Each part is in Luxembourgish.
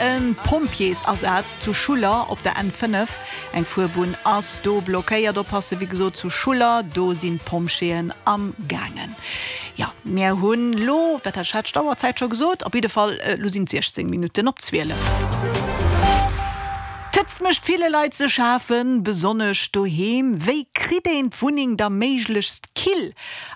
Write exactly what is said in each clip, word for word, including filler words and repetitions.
E Pompjeesasaz zu Schuller op der N fënnef. Eng Fuerbunn ass do blockéiert. Oppasse wéi gesot zu Schuller, do sinn d'Pompjeeën am gaangen. Jo, mir hunn lo, wat hat ech d'Auerzäit scho gesot? Op jidde Fall, lo sinn et siechzéng Minutten op zwielef. D'Hëtzt mécht ville Leit ze schafen, besonnesch doheem. Wéi kritt een d'Wunneng da méiglechst kill?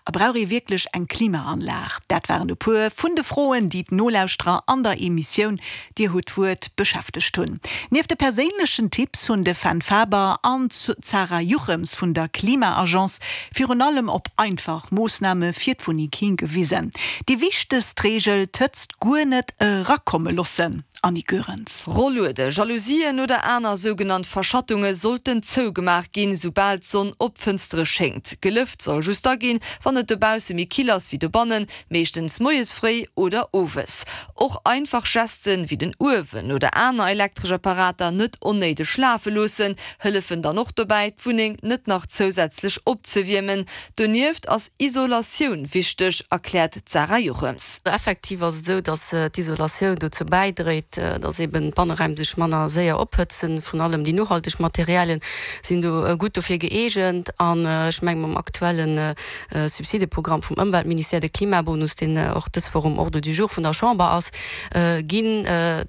A brauch ee wierklech eng Klimaanlag? Dat waren e puer vun de Froen, déi d'Nolauschterer an der Emissioun Dir hutt d'Wuert beschäftegt hunn. Nieft de perséinlechen Tipps hunn de Fenn Faber an d'Sarah Juchems vun der Klima-Agence virun allem op einfach Moossname fir d'Wunneng higewisen. Déi wichtegst Reegel, d'Hëtzt guer net erakomme loossen. Annick Goerens. Rolluede, Jalousien oder aner sougenannt Verschattunge sollten zougemaach ginn, soubal d'Sonn op d'Fënstere schéngt. Gelëft soll just da ginn, wann et dobausse méi kill ass wéi dobannen, meeschtens moies fréi oder owes. Och einfach Gesten, wéi den Uewen oder aner elektresch Apparater net onnéideg lafe loossen, hëllefen dann och dobäi, d'Wunneng net nach zousätzlech opzewiermen. Donieft ass Isolatioun wichteg, erkläert d'Sarah Jochems. Effektiv ass et esou, datt d'Isolatioun dozou bäidréit, datt eben d'Banneräim sech manner séier ophëtzen. Vrun allem déi nohalteg Materialien sinn do gutt dofir gëeegent. An ech mengen, mam aktuelle Subsideprogramm vum Ëmweltministère, de Klimabonus, deen och dës Woch um Ordre du jour vun der Chamber ass, ginn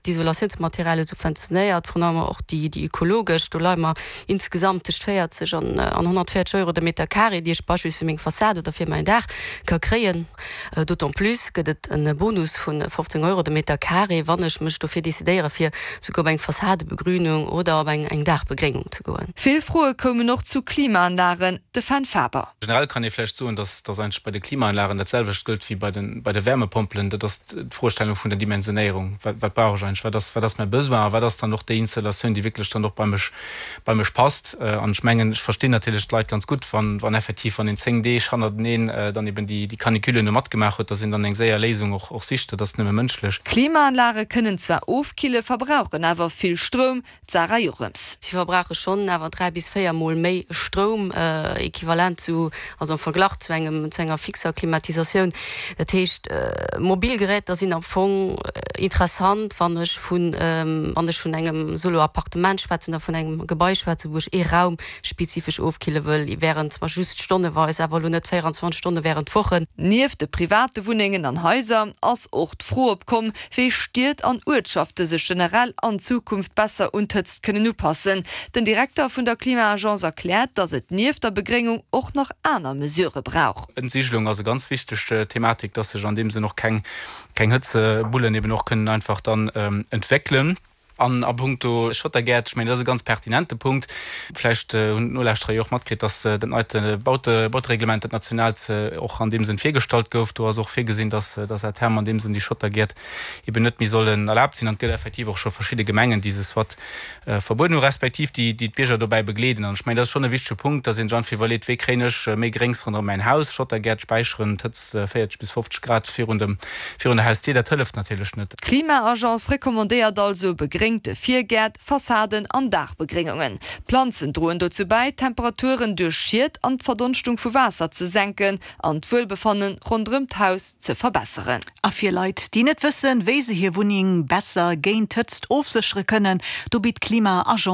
d'Isolatiounsmaterialie subventionéiert, vrun allem och déi ökologesch. Do leie mer insgesamt tëscht véierzeg an honnertvéierzeg Euro de Meter carré, déi ech beispillsweis fir meng Fassad oder fir mäin Daach ka kréien. D'autant plus gëtt et e Bonus vu fofzéng Euro de Meter carré, wann ech mech dofir decidéiere fir souguer op eng Fassadebegrünung oder op eng eng Daachbegréngung ze goen. Vill Froe koumen och zu Klimaanlagen, de Fenn Faber. Generell kann ee vläicht soen, dass dass eigentlech bei de Klimaanlagen dat selwecht gëllt wéi bei de bei de Wärmepompelen, dat ass d'Froestellung vun der Dimensionéierung. Wat wat brauch ech eigentlech, wat ass wat ass mäi Besoin a wat ass dann och déi Installatioun, déi wierklech dann och bei mech bei mech passt. An ech mengen, ech verstinn natierlech d'Leit ganz gutt, wann wann effektiv wann een zéng Deeg hannerteneen dann eben déi déi Canicule no matgemaach huet, dass een dann eng séier Léisung och och sicht. Dat ass nëmme mënschlech. Klimaanlage kënnen zwar ofkille, verbrauchen awer vill Stroum, d'Sarah Jochems. Si verbrauche schonn awer dräi bis véier Mol méi Stroum, equivalent zu, also am Verglach zu engem, zu enger fixer Klimatisatioun. Dat heescht, mobil Geräter sinn am Fong interessant, wann ech vun, wann ech vun engem Solo-Appartement schwätzen oder vun engem Gebai schwätzen, wou ech ee Raum spezifesch ofkille wëll, während zwar just stonneweis, awer elo net véierundzwanzeg Stonne während Wochen. Nieft de private Wunnengen an Haiser ass och d'Fro opkomm, wéi Stied an Uertschafte sech generell an Zukunft besser un d'Hëtzt kënnen upassen. Den Direkter vun der Klima-Agence erkläert, datt et nieft der Begréngung och nach aner Mesurë brauch. Entsigelung ass e ganz wichteg Thematik, dass sech an deem Sënn och keng keng Hëtzebullen eben och kënnen einfach dann entwéckelen. An a puncto Schottergäert, ech mengen, dat ass e ganz pertinente Punkt. Vläicht hunn d'Nolauschterer jo och matkritt, dass dat neit Baute Bautereglement, dat nationaalt, och an deem Sënn virgestallt gouf. Do ass och virgesinn, dass dass à terme an deem Sënn déi Schottergäert eben net méi sollen erlaabt sinn. An et gëtt effektiv och scho verschidde Gemengen, déi se soit verbueden hu respektiv déi déi d'Bierger dobäi begleeden. An ech mengen, dat ass schonn e wichtege Punkt, dass een sech einfach iwwerleet, Wéi kréien ech méi Gréngs ronderëm mäin Haus? Schottergäert späicheren d'Hëtzt véierzeg bis fofzeg Grad virun dem virun der Hausdier, dat hëlleft natierlech net. D'Klima-Agence recommandéiert also begréngte Virgäert, Fassaden an Daachbegréngungen. Planzen droen dozou bäi, d'Temperaturen duerch Schied an d'Verdonschtung vu Waasser ze senken an d'Wuelbefanne ronderëm d'Haus ze verbesseren. A fir Leit, déi net wëssen, wéi se hir Wunneng besser géint d'Hëtzt ofséchere kënnen, do bitt d'Klima-Agence